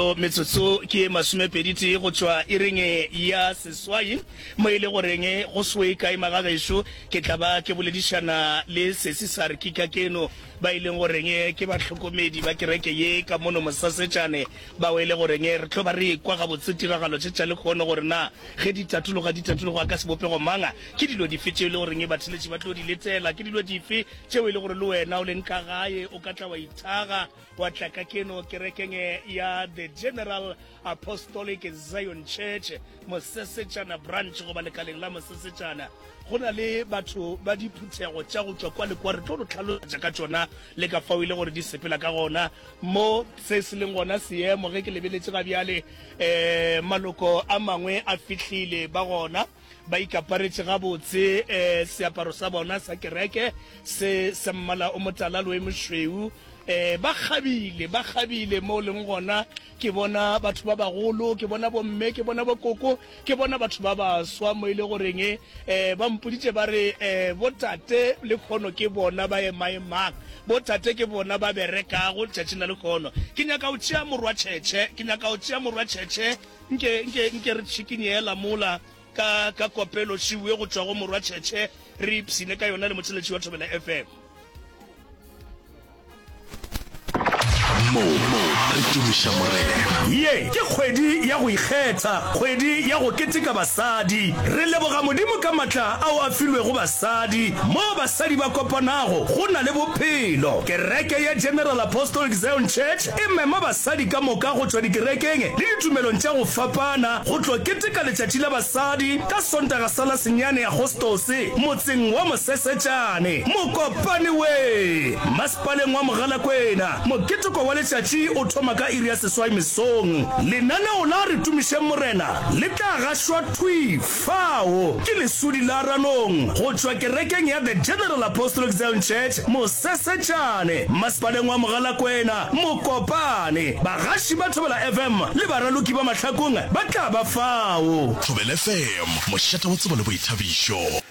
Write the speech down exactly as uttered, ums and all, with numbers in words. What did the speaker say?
Metsotso ke ye masomepedi tee go tšwa iring ya seswai, mo e le goreng go se kae magagešo ke tla ba ke boledišana le sesi Sarki Kakeno, ba e leng goreng ke bahlokomedi ba kereke ye ka mono Mosasetšane, bao e le goreng re tlo ba re ekwa gabotse tiragalo tše tša lehono gore na ge di tatologa di tatologa ka sebopego mang, ke dilo dife tšeo e le goreng batheletši ba tlo di letela, ke dilo dife tšeo e le gore le wena o leng ka gae o ka tla wa ithaga wa tla ka keno kerekeng ya The General Apostolic Zion Church Mosesetšana Branch goba lekaleng la Mosesetšana. Go na le batho ba diphuthego tša go tšwa kwa le kwa, re tlo re tlhalosetša ka tšona le ka fao e le gore di sepela ka gona mo se se leng gona seemo. Ge ke lebeletše ga bjale um maloko a mangwe a fihlile ba gona ba ikaparetše gabotse um seaparo sa bona sa kereke se sa mmala o motala le o mošweu, um ba kgabile ba kgabile mo leng gona. Ke bona batho ba bagolo, ke bona bomme, ke bona bokoko, ke bona batho ba baswa mo e le goreng um ba mpoditše ba re um botate le kgono ke bona ba emaemang, botate ke bona ba berekago letšatšing la lekgono. Ke nyaka o tšea morwa tšhetšhe, ke nyaka o tšea morwa tšhetšhe, nke nke nke re tšhikinyela mola ka ka kopelo šiwe go tšwa go morwa tšhetšhe, re ipshine ka yona le motheletši wa Thobela F M. Mo re tumiša Morena. Ye ke kgwedi ya go ikgetha, kgwedi ya go keteka basadi. Re leboga Modimo ka matla ao a filwego basadi. Mo basadi ba kopanago, go na le bophelo. Kereke ya General Apostolic Zion Church e mema basadi ka moka go tšwa dikerekeng le ditumelong tša go fapana go tlo keteka letšatši la basadi ka Sontaga sa la senyane Agostose motseng wa Mosesetšane, Mokopane we, masepaleng wa Mogalakwena. Moketeko wa letšatši o thoma ka iri ya seswai mesong. Lenaneo la Re Tumišeng Morena le tla gašwa thwi fao ke lesodi la Ranong go tšwa kerekeng ya The General Apostolic Zion Church Mosesetšane, masepaleng wa Mogalakwena, Mokopane. Bagaši ba Thobela F M le baraloki ba Mahlakong ba tla ba fao. Thobela F M, mošate wa tsebo le boithabišo.